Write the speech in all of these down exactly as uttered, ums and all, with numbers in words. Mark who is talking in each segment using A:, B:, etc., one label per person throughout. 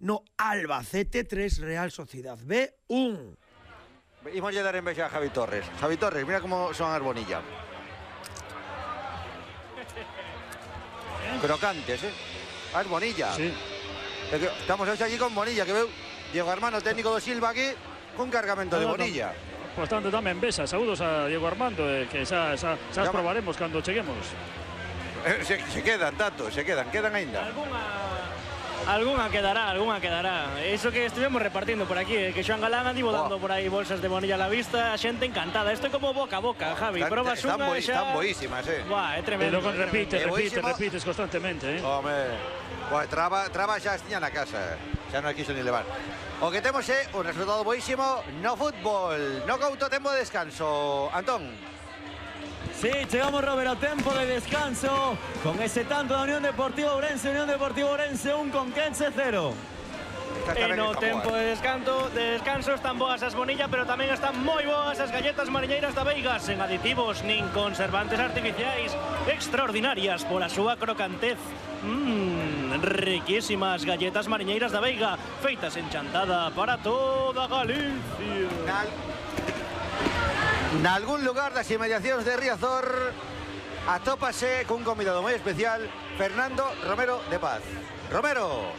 A: no Albacete tres, Real Sociedad B un.
B: Imos lle dar envexa a Javi Torres. Javi Torres, mira como son as Bonilla. Crocantes, eh? As Bonilla.
C: Sí.
B: Estamos hoxe allí con Bonilla, que veu Diego Armando, técnico do Silva aquí, con cargamento de Bonilla.
C: Bastante tamén besa. Saúdos a Diego Armando, eh, que xa, xa, xa as probaremos cando cheguemos.
B: Eh, se, se quedan, tanto, se quedan, quedan ainda.
D: Alguna, alguna quedará, alguna quedará. Eso que estuvimos repartiendo por aquí, eh, que Xoan Galán andivo oh. dando por aí bolsas de Bonilla a la vista, a xente encantada. Isto é como boca a boca, Javi.
B: Están,
D: Probas
B: están,
D: unha
B: boi,
D: xa...
B: están boísimas, eh.
D: Buah, é tremendo.
C: E logo repites,
B: é
C: repites,
B: boísimo.
C: repites constantemente, eh.
B: Home, pues, traba, traba xa estiña na casa. Xa non quiso ni levar. O que temos é un resultado boísimo no fútbol. No couto tempo de descanso. Antón.
E: Sí, llegamos, Robert, a tiempo de descanso con ese tanto de Unión Deportiva Ourense, Unión Deportiva Ourense un, Conquense cero.
D: E no tempo de descanso, de descanso están boas as Bonilla, pero tamén están moi boas as galletas mariñeiras da Veiga, sen aditivos nin conservantes artificiais, extraordinarias pola súa crocantez. Mmm, riquísimas galletas mariñeiras da Veiga, feitas en chantada para toda Galicia.
B: Nal... Nalgún lugar das inmediacións de Riazor atópase cun convidado moi especial, Fernando Romero de Paz. Romero.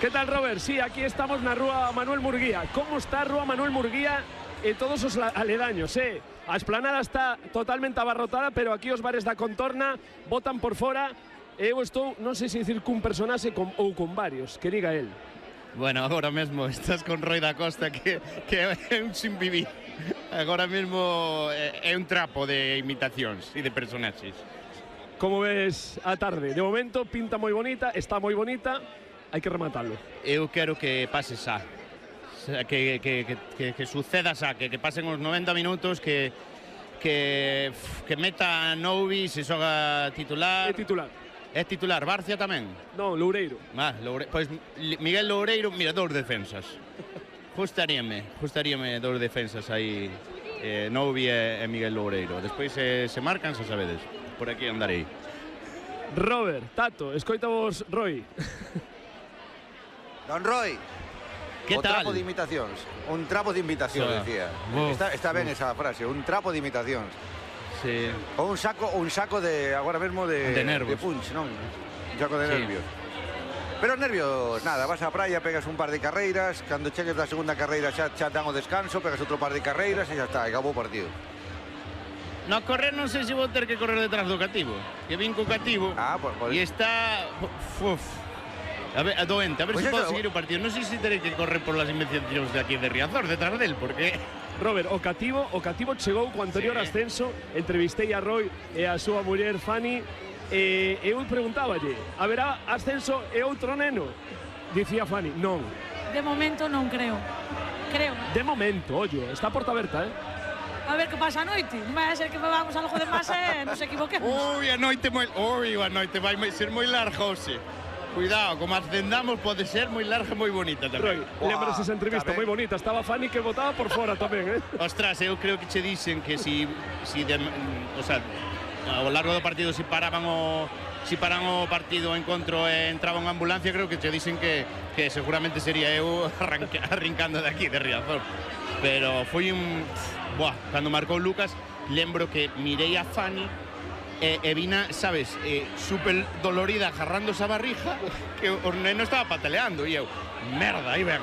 F: ¿Qué tal, Robert? Sí, aquí estamos na Rúa Manuel Murguía. ¿Cómo está Rúa Manuel Murguía e todos os aledaños, eh? A esplanada está totalmente abarrotada, pero aquí os bares da contorna botan por fora. Eu estou, non sei se dicir cun personaxe con, ou con varios, que diga el.
G: Bueno, agora mesmo estás con Roi da Costa, que, que é un sin vivir. Agora mesmo é un trapo de imitacións e de personaxes.
F: Como ves a tarde? De momento pinta moi bonita, está moi bonita. Hai que rematarlo.
G: Eu quero que pase xa. Que, que, que, que, que suceda xa, que, que pasen os noventa minutos, que que, que meta Novi, se xoga titular.
F: É titular.
G: É titular, Barcia tamén?
F: Non, Loureiro.
G: Ah, Loure... Pois Miguel Loureiro, mira, dous defensas. Justaríame, justaríame dous defensas aí, eh, Novi e, e Miguel Loureiro. Despois eh, se marcan, xa sabedes. Por aquí andarei.
F: Robert, Tato, escoita vos, Roy.
B: Don Roy.
G: Que
B: o
G: tal?
B: trapo de imitacións. Un trapo de imitacións,
G: So,
B: decía.
G: Uf,
B: está, está ben
G: uf.
B: esa frase, un trapo de imitacións.
G: Sí.
B: O un saco, un saco de agora mesmo de
G: De nervos.
B: de punch, non? Un saco de
G: Sí.
B: nervios. Pero os nervios, nada, vas á praia, pegas un par de carreiras, cando chegues da segunda carreira xa, xa dan o descanso, pegas outro par de carreiras e xa está, acabou o partido.
G: No correr non sei se vou ter que correr detrás do cativo. Que vin co cativo
B: Ah, pues, pues.
G: e está... Uf, a ver, a doente, a ver
B: Pues
G: se
B: eso,
G: podo seguir o partido. Non sei se terei que correr por las inmediacións de aquí de Riazor, detrás del, porque...
F: Robert, o cativo, o cativo chegou co anterior
G: Sí.
F: ascenso, entrevistei a Roy e a súa muller Fanny, e eu preguntáballe, haberá ascenso e outro neno? Dicía Fanny, non.
H: De momento non creo. Creo.
F: De momento, ollo, está a porta aberta, eh?
H: A ver que pasa a noite. Non vai a ser que bebamos algo de máis e nos equivoquemos.
G: Ui, a noite moi... Ui, a noite vai ser moi larga, hoxe. Cuidado, como ascendamos pode ser moi larga e moi bonita
F: Roy,
G: tamén.
F: lembras esa entrevista
B: tamén.
F: moi bonita, estaba Fanny que votaba por fora tamén, eh?
G: Ostras, eu creo que che dicen que si, si de, o sea, ao largo do partido si paraban o si paran o partido o encontro e entraba unha ambulancia, creo que che dicen que, que seguramente sería eu arranca, arrincando de aquí, de Riazor. Pero foi un... Buah, cando marcou Lucas, lembro que mirei a Fanny e, e vina, sabes, eh, super dolorida agarrando esa barrija, que o neno estaba pataleando e eu, merda, aí ven.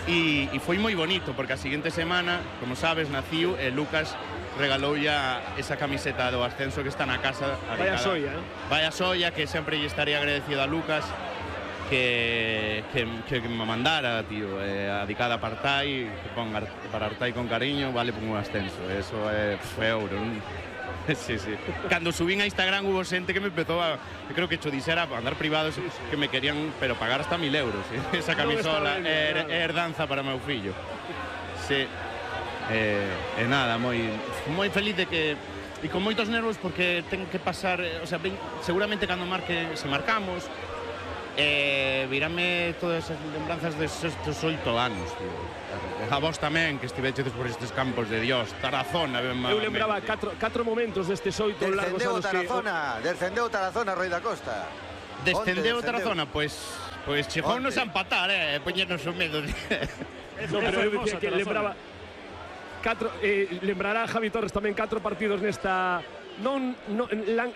G: e, e foi moi bonito, porque a seguinte semana, como sabes, naciu e Lucas regalou ya esa camiseta do ascenso que está na casa.
F: Vaya soia, eh?
G: Vaya soia, que sempre lle estaría agradecido a Lucas que, que, que me mandara, tío, eh, adicada a Artai, que pon para Artai con cariño, vale por un ascenso. Eso é é ouro. Sí, sí. Cando subín a Instagram hubo xente que me empezou a, que creo que cho dixera a andar privados, sí, sí, que me querían, pero pagar hasta mil euros, ¿eh? Esa camisola é er, er herdanza para meu fillo. Sí. E eh, eh, nada, moi moi feliz de que e con moitos nervos porque ten que pasar, o sea, ben, seguramente cando marque, se marcamos, eh, virame todas as lembranzas destes oito anos, tío. A vos tamén, que estivechedes por estes campos de Dios, Tarazona.
F: Eu lembraba catro, catro momentos destes oito largos
B: Descendeu
F: anos
B: Tarazona,
F: que...
B: descendeu Tarazona, Roi da Costa.
G: Descendeu Tarazona, pois... Pois chegounos a empatar, eh, poñernos o medo.
F: No, pero eu dicía que lembraba catro, eh, lembrará Javi Torres tamén catro partidos nesta non, non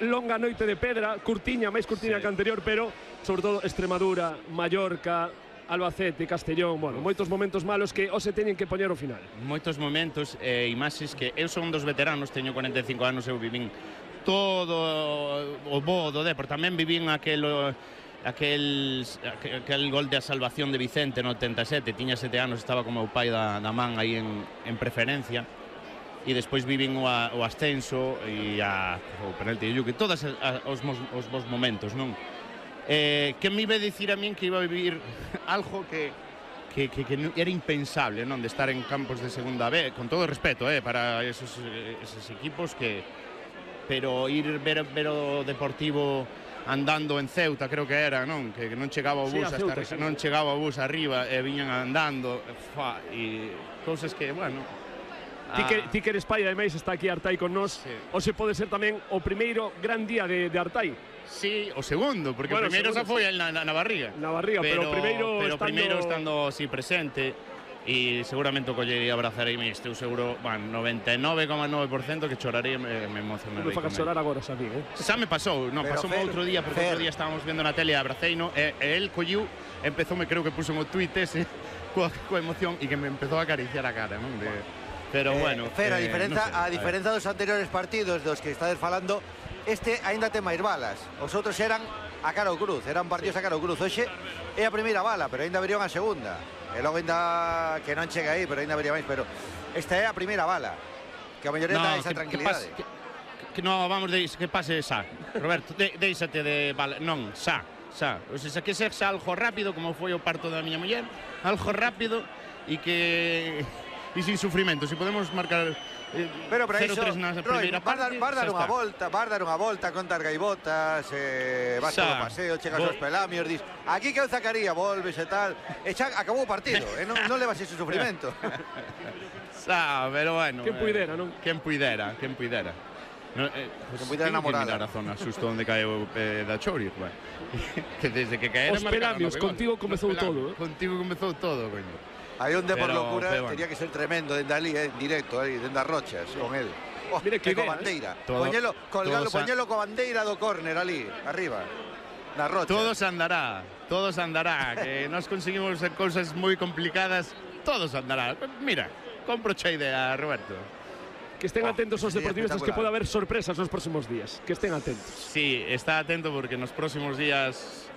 F: longa noite de pedra, curtiña, máis curtiña sí. que anterior, pero sobre todo Extremadura, Mallorca, Albacete, Castellón, bueno, moitos momentos malos que o se teñen que poñer ao final.
G: Moitos momentos e eh, imaxes que eu son dos veteranos, teño cuarenta e cinco anos, eu vivín todo o bo do Depor, tamén vivín aquel aquel aquel gol de salvación de Vicente no oitenta e sete, tiña sete anos, estaba como o pai da, da man aí en, en preferencia, e despois vivín o, a, o ascenso e a, o penalti de Yuki, todos os, os bons momentos, non? Eh, que me iba a dicir a min que iba a vivir algo que, que, que, que era impensable, non? De estar en campos de segunda B, con todo respeto, eh, para esos, esos equipos que... Pero ir ver, ver o Deportivo andando en Ceuta, creo que era, non? Que, que non chegaba o bus sí, hasta Ceuta, sí. non chegaba o bus arriba e viñan andando, fa, e cousas que, bueno...
F: Ti que, ti que eres pai, ademais está aquí Artai con nós, sí. ou se pode ser tamén o primeiro gran día de, de Artai.
G: Sí, o segundo, porque bueno, o primeiro xa foi sí. na, na, na barriga.
F: Na barriga, pero, pero primeiro
G: pero
F: estando...
G: primeiro estando así presente e seguramente o collería abrazareime, estou seguro, bueno, noventa e nove coma nove por cento que choraría e me, me emocionarei.
F: Non me facas chorar agora, xa vi, eh?
G: Xa me pasou, non, pasou outro día, porque outro día estábamos vendo na tele a abraceino e, e el colliu, empezoume, creo que puso un tweet ese, coa, coa emoción e que me empezou a acariciar a cara, non? De, pero eh, bueno...
B: Fer, a
G: eh,
B: diferenza,
G: no sé,
B: a diferenza dos anteriores partidos dos que estades falando, este aínda ten máis balas. Os outros eran a cara ou cruz, eran partidos sí. a cara ou cruz. Hoxe é a primeira bala, pero aínda verían a segunda. E logo aínda que non chega aí, pero aínda vería máis, pero esta é a primeira bala. Que a maioría no, dá esa que, tranquilidade.
G: Que, que, que no, vamos, de, que pase xa. Roberto, de, deixate de bala. Non, xa, xa. O sea, que sexa algo rápido, como foi o parto da miña muller, algo rápido e que... e sin sufrimento, se podemos marcar eh,
B: pero para
G: cero tres na primeira parte,
B: vas dar unha volta, vas dar unha volta, contas gaivotas, eh, vas polo paseo, chegas aos pelamios, dis, aquí que eu sacaría, volves e tal, e xa acabou o partido, e non, non levas ese sufrimento.
G: Xa, pero bueno.
F: Quen puidera, non?
G: Quen puidera, quen puidera. No, eh, pues,
B: quen puidera namorada.
G: A zona xusto onde caeu eh, da Chori, bueno. Que desde que caera
F: os pelamios, contigo comezou todo, eh?
G: Contigo comezou todo, coño.
B: Hai un de por locura, pero, bueno. Tenía que ser tremendo dende ali, eh, en directo, eh, dende as rochas, sí. Con él. Oh,
F: mire que
B: co bandeira. Todo, poñelo, colgalo, poñelo co bandeira do córner ali, arriba, na rocha.
G: Todos andará, todos andará, que nós conseguimos cousas moi complicadas, todos andará. Mira, compro xa idea, Roberto.
F: Que estén oh, atentos os deportivistas, que pode haber sorpresas nos próximos días. Que estén atentos.
G: Sí, está atento porque nos próximos días...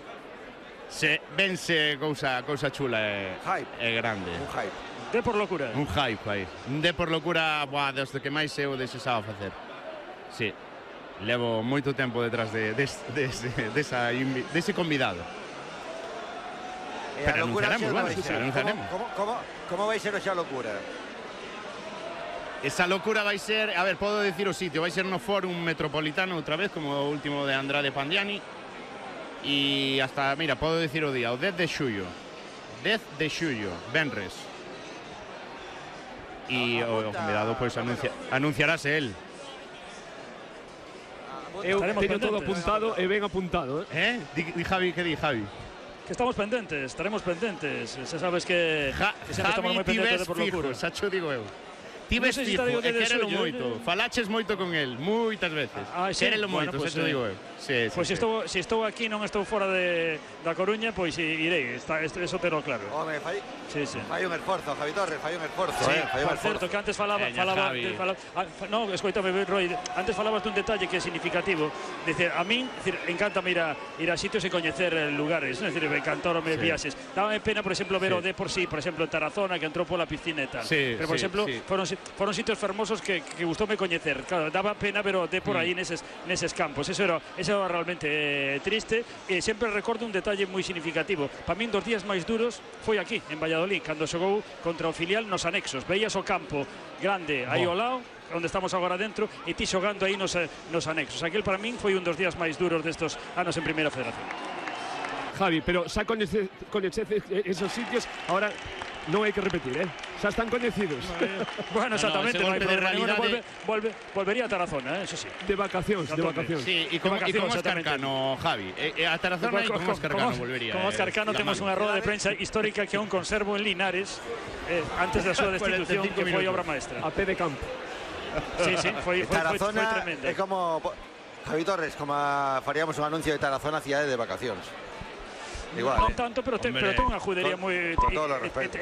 G: Se vense cousa, cousa chula e, e grande.
B: Un hype.
C: De por locura.
G: Un hype aí. De por locura, boa, desde que máis eu desexaba facer. Sí. Levo moito tempo detrás de, de, de, de, de esa, dese convidado.
B: E a locura xa vai ser. Como, como, como vai ser xa a locura?
G: Esa locura vai ser, a ver, podo dicir o sitio, vai ser no Fórum Metropolitano outra vez, como o último de Andrade Pandiani. E hasta, mira, podo dicir o día, o dez de xullo, dez de xullo, venres. E o, o convidado pois pues, anuncia, anunciarase el.
F: Eu teño todo apuntado e ben apuntado,
G: eh? Eh? Di, di Javi, que di Javi?
C: Que estamos pendentes, estaremos pendentes. Se sabes que,
G: ja,
C: que sempre estamos moi pendentes de por locura.
G: Xa cho digo eu. Ti ves fijo, e quérelo moito. Falaches moito con el, moitas veces.
C: Ah, sí?
G: Quérelo moito,
C: bueno, pues,
G: xa te digo eu. Sí, sí,
C: pois
G: sí.
C: se estou, si estou aquí, non estou fora de, da Coruña, pois irei, está, eso te lo claro.
B: Home, fai,
C: sí, sí.
B: fai un esforzo, Javi Torres, fai un esforzo.
C: Sí,
B: eh, fai un
C: por certo, que antes falaba...
G: Veña,
C: falaba, de, falaba ah, no, escoitame, Roy, antes falabas dun detalle que é significativo. Dice, a min, decir, encántame ir a, ir a sitios e coñecer lugares, ¿no? Es decir, me encantaron sí. viaxes. Dábame pena, por exemplo, ver sí. o de por sí, por exemplo, en Tarazona, que entrou pola piscina e tal.
G: Sí,
C: pero, por
G: sí,
C: exemplo,
G: sí.
C: Foron, foron sitios fermosos que, que gustoume coñecer. Claro, daba pena, pero de por aí mm. neses, neses campos. Eso era, eso era realmente eh, triste. E sempre recordo un detalle moi significativo. Para min, dos días máis duros foi aquí, en Valladolid, cando xogou contra o filial nos anexos. Veías o campo grande aí ao lado, onde estamos agora dentro, e ti xogando aí nos, nos anexos. Aquel para min foi un dos días máis duros destos anos en Primeira Federación.
F: Javi, pero xa coñeces, coñeces esos sitios, ahora non hai que repetir, eh? Xa están coñecidos.
C: Bueno, exactamente,
G: no,
C: no, no
G: golpe
C: hai
G: de
C: problema.
G: realidade...
C: Volve, volve, volvería a Tarazona, eh, eso sí.
F: De vacacións, de vacacións.
G: Sí, e con,
C: vacacións,
G: y con Óscar
C: exactamente.
G: Cano, Javi. E, e a Tarazona e con Óscar Cano volvería.
C: Con Óscar Cano
G: eh,
C: temos unha roda de prensa histórica que aún conservo en Linares eh, antes da súa destitución, que foi obra maestra.
F: A pé de campo.
C: Sí, sí, foi, foi, foi, foi
B: Tarazona
C: tremenda.
B: é como Javi Torres, como faríamos un anuncio de Tarazona cidade de vacacións. Igual,
C: Non
B: eh.
C: tanto, pero ten, pero ten unha judería
B: con-
C: moi...
B: con todos os respetos.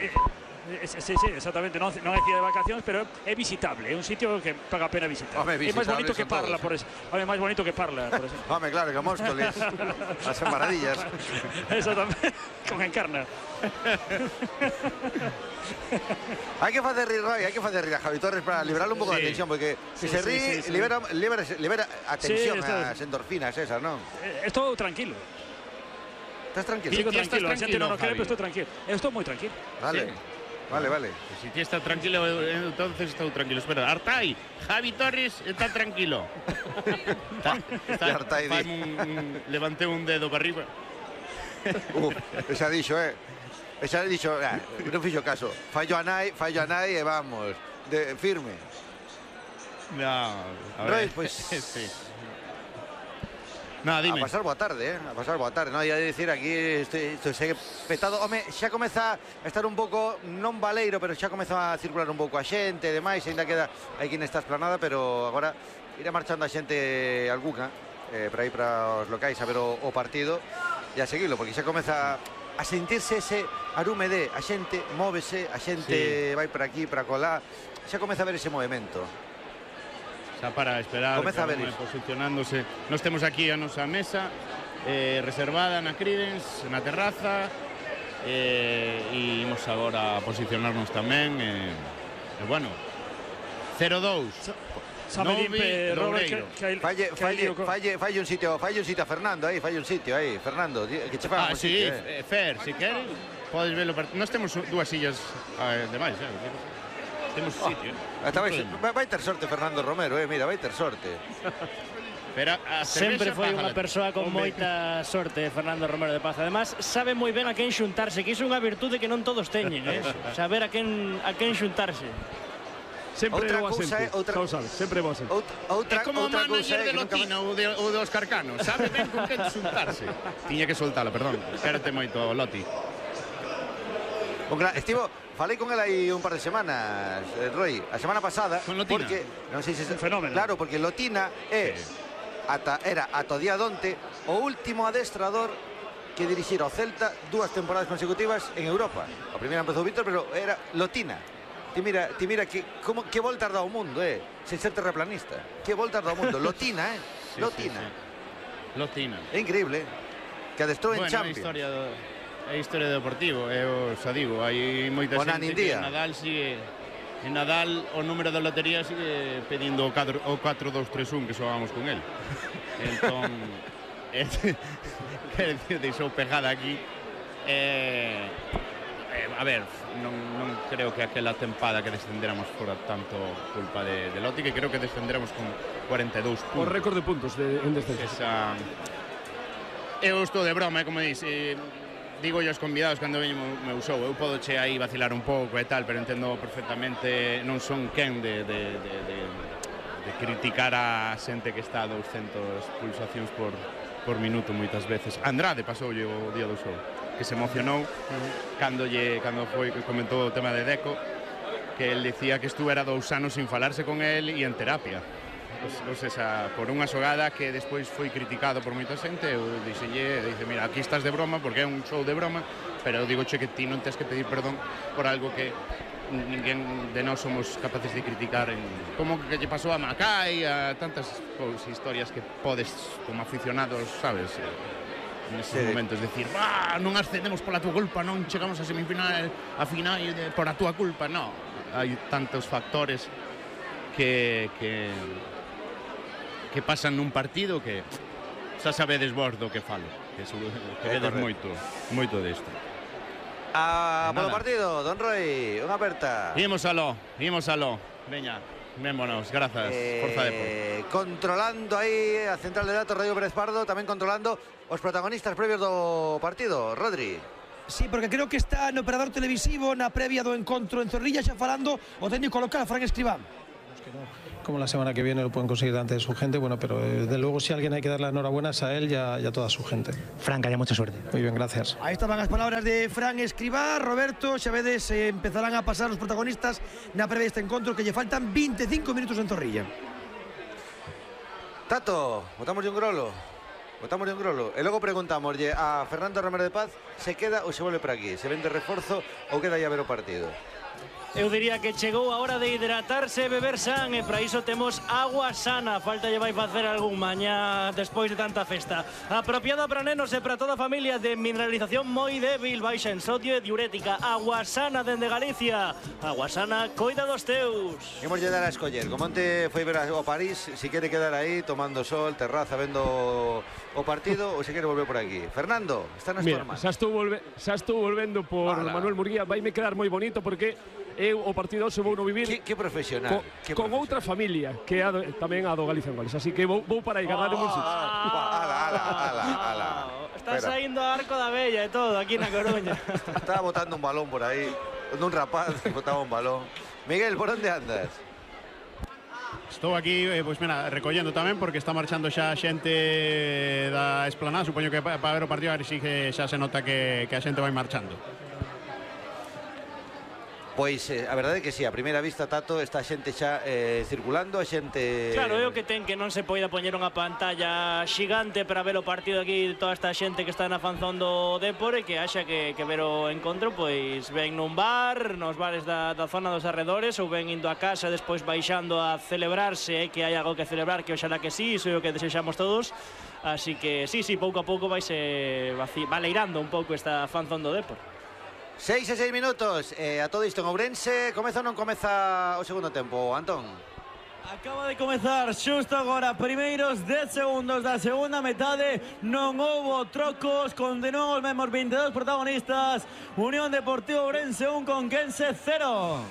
C: Sí, sí, exactamente, non, non é cidade de vacacións, pero é visitable, é un sitio que paga a pena visitar.
B: Home,
C: É máis bonito
B: visitables
C: que
B: son
C: Parla,
B: todos.
C: por eso. Home, máis bonito que Parla, por eso.
B: Home, claro, que Móstoles, as embaradillas.
C: Exactamente, con Encarna.
B: Hai que facer rir, Roy, hai que facer rir a Javi Torres para liberarle un pouco
G: Sí.
B: de tensión, porque
C: Sí,
B: se se
C: sí,
B: rí,
C: sí, sí.
B: libera, libera, libera a tensión,
C: Sí, está-
B: as endorfinas esas, non?
C: Eh, Estou tranquilo.
B: Estás tranquilo?
C: Digo
G: ti estás
C: tranquilo, a xente non o
G: tranquilo,
C: cree,
G: Javi?
C: pero estou tranquilo. Eu estou moi tranquilo.
B: Vale, vale, vale.
G: Si ti está tranquilo, entonces estou tranquilo. Espera, Artai, Javi Torres está tranquilo. está, está,
B: E Artai di.
G: faime un, un, levantei un dedo para arriba.
B: Uh, esa dixo, eh. Esa dixo, ah, non fixo caso. Fallo a nai, fallo a nai e vamos, de firme.
G: No, a
B: Roy,
G: ver.
B: pues
G: sí. No, dime.
B: A pasar boa tarde, eh? A pasar boa tarde, non? Ia dicir aquí, isto, isto segue petado. Home, xa comeza a estar un pouco, non baleiro, pero xa comeza a circular un pouco a xente e demais, ainda queda aquí nesta esplanada, pero agora irá marchando a xente alguna eh, para ir para os locais a ver o, o partido e a seguilo, porque xa comeza a sentirse ese arume de a xente móvese, a xente sí. vai para aquí, para colá, xa comeza a ver ese movimento.
G: Xa para esperar,
B: Comeza a ver
G: cada un
B: iso.
G: posicionándose. Nos temos aquí a nosa mesa eh, reservada na Credence, na terraza, eh, e imos agora a posicionarnos tamén. E, eh, bueno, cero dous.
C: Sabe Limpe, Robert, que, que hai,
B: Falle,
C: que hai
B: falle,
C: lío co-
B: falle, falle un sitio, falle un sitio a Fernando aí, falle un sitio aí, Fernando, di- que che faga
G: Ah,
B: un
G: sí,
B: sitio, eh.
G: eh, Fer, si queres, podes velo. part- Nós temos dúas sillas eh, demais, eh? Temos sitio. eh?
B: Hasta vai,
G: Non podemos.
B: vai, vai ter sorte Fernando Romero, eh, mira, vai ter sorte.
G: Pero a
D: Sempre
G: cervexa
D: foi
G: pájala.
D: unha persoa con
G: Home,
D: moita sorte, Fernando Romero de Paz. Además, sabe moi ben a quen xuntarse, que iso é unha virtude que non todos teñen, eh? Saber a quen a quen xuntarse.
F: Sempre
B: Outra
F: boa
B: cousa
F: xente.
B: é outra-
F: Xa o sabes, sempre boa xente.
B: Outra, outra,
G: É como o
B: outra cousa
G: manager
B: é
G: de
B: que nunca
G: Lotina ou de, ou de Óscar Cano. Sabe ben con quen xuntarse. Tiña que soltalo, perdón. Quérete moito, Loti.
B: Un gran, estivo, falei con ela aí un par de semanas, eh, Roy, a semana pasada,
G: Con Lotina?
B: porque non sei se
C: Un fenómeno.
B: Claro, porque Lotina é ata era ata o día donte o último adestrador que dirixira o Celta dúas temporadas consecutivas en Europa. A primeira empezou Víctor, pero era Lotina. Ti mira, ti mira que como que voltas dá o mundo, eh, sen ser terraplanista. Que voltas dá o mundo, Lotina, eh?
G: Sí,
B: Lotina.
G: sí, sí. Lotina.
B: É increíble. eh. Que adestrou en
G: Bueno, é
B: Champions.
G: historia do é historia do Deportivo, eu xa digo, hai moita
B: O
G: xente
B: Nanindía.
G: que Nadal sigue en Nadal o número da lotería sigue pedindo o catro o catro dous tres un que xogamos con el. Entón é, quer decir, deixou pegada aquí. Eh, eh, a ver, non, non creo que aquela tempada que descenderamos fora tanto culpa de, de Loti, que creo que descenderamos con cuarenta e dous
F: O
G: puntos.
F: récord de puntos de, en descenso.
G: Esa... Eu estou de broma, eh, como dis, eh, digo aos convidados cando veño o meu show, eu podo che aí vacilar un pouco e tal, pero entendo perfectamente, non son quen de, de, de, de, de criticar a xente que está a douscentas pulsacións por, por minuto moitas veces. Andrade pasoulle o día do show, que se emocionou cando, lle, cando foi que comentou o tema de Deco, que el dicía que estuvera dous anos sin falarse con el e en terapia. O sea, por unha xogada que despois foi criticado por moita xente, eu dixelle, dice, mira, aquí estás de broma porque é un show de broma, pero eu digo che que ti non tens que pedir perdón por algo que ninguén de nós somos capaces de criticar en como que lle pasou a Macai, a tantas pois, historias que podes como aficionados, sabes, neses
B: Sí.
G: momentos decir, "Ah, non ascendemos pola túa culpa, non chegamos a semifinal, a final de, por a túa culpa", no. Hai tantos factores que que que pasan nun partido que xa sabedes vos do que falo, que, seguro, que
B: É
G: vedes
B: correcto.
G: moito, moito desto.
B: Ah,
G: De
B: polo
G: nada.
B: partido, Don Roy, unha aperta.
G: Imos aló, imos aló. Veña, vémonos, grazas, Forza Depor.
B: Eh, controlando aí a central de datos Radio Pérez Pardo, tamén controlando os protagonistas previos do partido. Rodri.
A: Sí, porque creo que está no operador televisivo na previa do encontro en Zorrilla xa falando o técnico local, Fran Escribá.
I: Como la semana que viene lo pueden conseguir delante de su gente, bueno, pero desde luego si alguien hay que dar las enhorabuenas a él y a, y a toda su gente.
J: Fran, que haya mucha suerte.
I: Muy bien, gracias.
A: Ahí estaban as palabras de Fran Escribá. Roberto, xa vedes, eh, empezarán a pasar os protagonistas na previa deste encontro, que lle faltan veinticinco minutos en Zorrilla.
B: Tato, botamos de un grolo. Botamos de un grolo. E logo preguntamos a Fernando Romero de Paz se queda ou se volve para aquí, se vende reforzo ou queda ya ver o partido.
D: Eu diría que chegou a hora de hidratarse e beber san, e para iso temos agua sana. Falta lle vai facer algún mañá despois de tanta festa. Apropiada para nenos e para toda a familia, de mineralización moi débil, baixa en sodio e diurética. Agua sana dende Galicia. Agua sana, coida dos teus.
B: Imos lle dar a escoller. Como onte foi ver o París, si quere quedar aí tomando sol, terraza, vendo o partido ou se quere volver por aquí. Fernando, está nas
F: Mira,
B: formas.
F: xa estou, volve, xa estou volvendo por
B: Ala.
F: Manuel Murguía. Vai me quedar moi bonito porque eu o partido se vou no vivir
B: que, que profesional,
F: co,
B: que
F: con
B: profesional.
F: outra familia que é a do, tamén a do Galicia en Goles, así que vou, vou para aí ganar oh, un sitio.
B: Ala, ala, ala, ala.
D: Está saindo a Arco da Bella e todo aquí na Coruña.
B: Estaba botando un balón por aí, un rapaz botaba un balón. Miguel, por onde andas?
G: Estou aquí, eh, pois mira, recollendo tamén porque está marchando xa xente da esplanada, supoño que para pa ver o partido, a ver si que xa se nota que, que a xente vai marchando.
B: Pois eh, a verdade é que si, sí, a primeira vista, Tato, está a xente xa eh, circulando, a xente...
D: Claro, é o que ten que non se poida poñer unha pantalla xigante para ver o partido aquí, toda esta xente que está na fanzón do Depor, e que haxa que, que ver o encontro, pois ven nun bar, nos bares da, da zona dos arredores, ou ven indo a casa, despois baixando a celebrarse, e que hai algo que celebrar, que oxalá que sí, iso é o que desexamos todos. Así que sí, sí, pouco a pouco vaise baleirando un pouco esta fanzón do Depor.
B: Seis e seis minutos, eh, a todo isto en Ourense. Comeza ou non comeza o segundo tempo, Antón?
E: Acaba de comezar xusto agora, primeiros dez segundos da segunda metade. Non houbo trocos, continuamos os mesmos vinte e dous protagonistas. Unión Deportiva Ourense un, Conquense cero.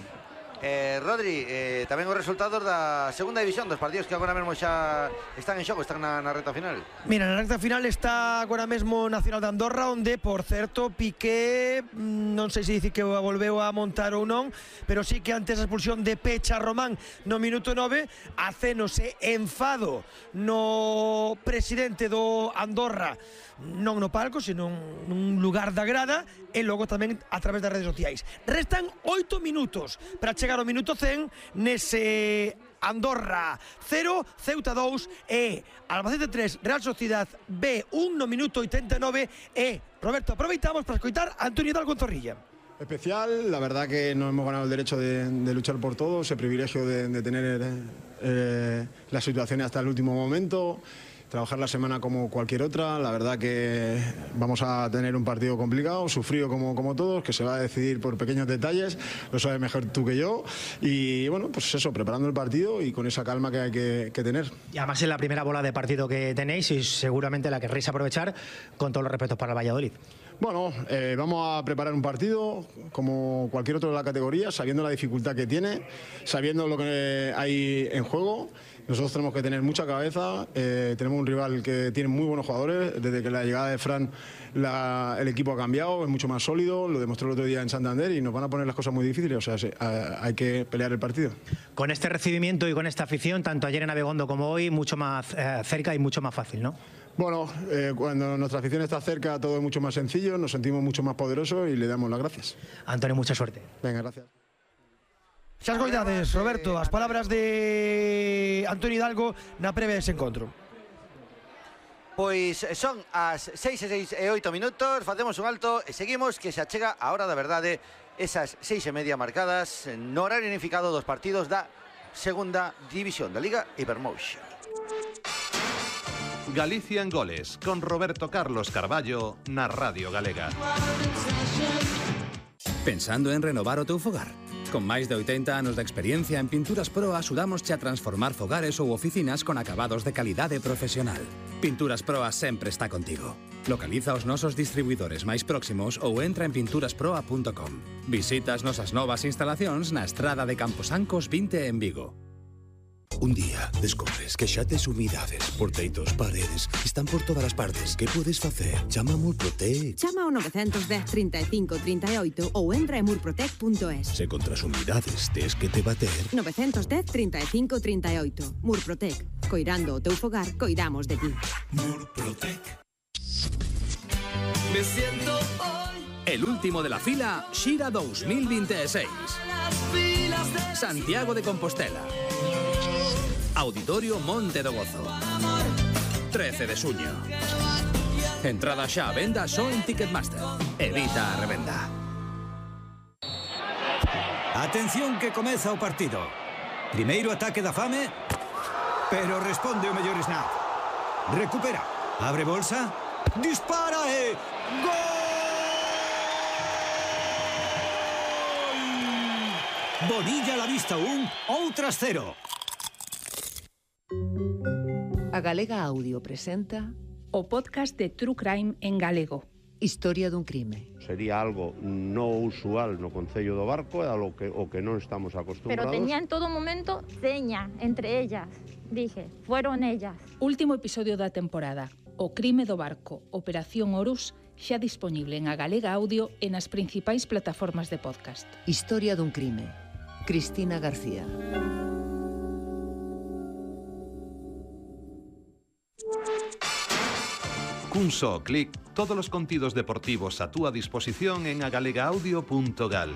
B: Eh, Rodri, eh, tamén os resultados da segunda división, dos partidos que agora mesmo xa están en xogo, están na, na recta final.
A: Mira, na recta final está agora mesmo Nacional de Andorra, onde, por certo, Piqué, non sei se dice que volveu a montar ou non, pero sí que antes da expulsión de Pecha Román no minuto nove, acénose enfado no presidente do Andorra, non no palco, sino nun lugar da grada, e logo tamén a través das redes sociais. Restan oito minutos para chegar ao minuto cen nese Andorra cero, Ceuta dous e Albacete tres, Real Sociedad B un no minuto oitenta e nove. E, Roberto, aproveitamos para escoitar a Antonio Hidalgo en Zorrilla.
K: Especial, la verdad que nos hemos ganado el derecho de, de luchar por todo, ese privilegio de, de tener eh, las situaciones hasta el último momento. Trabajar la semana como cualquier otra, la verdad que vamos a tener un partido complicado, sufrido como, como todos, que se va a decidir por pequeños detalles, lo sabes mejor tú que yo, y bueno, pues eso, preparando el partido y con esa calma que hay que, que tener.
J: Y además es la primera bola de partido que tenéis y seguramente la querréis aprovechar, con todos los respetos para el Valladolid.
K: Bueno, eh, vamos a preparar un partido como cualquier otro de la categoría, sabiendo la dificultad que tiene, sabiendo lo que hay en juego. Nosotros tenemos que tener mucha cabeza, eh, tenemos un rival que tiene muy buenos jugadores, desde que la llegada de Fran la, el equipo ha cambiado, es mucho más sólido, lo demostró el otro día en Santander y nos van a poner las cosas muy difíciles, o sea, se, a, hay que pelear el partido.
J: Con este recibimiento y con esta afición, tanto ayer en Abegondo como hoy, mucho más eh, cerca y mucho más fácil, ¿no?
K: Bueno, eh, cuando nuestra afición está cerca todo es mucho más sencillo, nos sentimos mucho más poderosos y le damos las gracias.
J: Antonio, mucha suerte.
K: Venga, gracias.
A: Xas goidades, Roberto, as palabras de Antonio Hidalgo na previa dese encontro.
B: Pois son as seis e seis e oito minutos, facemos un alto e seguimos, que se achega a hora da verdade, esas seis e media marcadas no horario unificado dos partidos da segunda división da Liga Ibermotion.
L: Galicia en Goles, con Roberto Carlos Carballo na Radio Galega.
M: Pensando en renovar o teu fogar? Con máis de oitenta anos de experiencia en Pinturas Pro axudámosche a transformar fogares ou oficinas con acabados de calidade profesional. Pinturas Proa sempre está contigo. Localiza os nosos distribuidores máis próximos ou entra en pinturas proa punto com. Visita as nosas novas instalacións na estrada de Camposancos vinte en Vigo.
N: Un día descubres que xa tes humidades por teitos, paredes, están por todas as partes. Que podes facer? Chama a Murprotec.
O: Chama ao nove un cero, trinta e cinco, trinta e oito ou entra en murprotec punto es.
N: Se contra as humidades tes que te bater.
O: nove un cero, trinta e cinco, trinta e oito. Murprotec. Coirando o teu fogar, coidamos de ti.
N: Murprotec.
M: Me siento hoy. El último de la fila, Xira dos mil veintiséis. Santiago de Compostela. Auditorio Monte do Gozo. trece de suño. Entrada xa a venda só en Ticketmaster. Evita a revenda.
P: Atención que comeza o partido. Primeiro ataque da fame, pero responde o mellor Snap. Recupera. Abre bolsa. Dispara e... ¡Gol! Bonilla la vista un, outras cero.
Q: A Galega Audio presenta
R: o podcast de True Crime en galego.
Q: Historia dun crime.
S: Sería algo no usual no Concello do Barco, é algo que, o que non estamos acostumbrados.
T: Pero tenía en todo momento seña entre ellas. Dije, fueron ellas.
R: Último episodio da temporada. O crime do barco, Operación Horus, xa disponible en A Galega Audio e nas principais plataformas de podcast.
Q: Historia dun crime. Cristina García.
L: Cun só clic, todos os contidos deportivos a túa disposición en agalegaudio punto gal.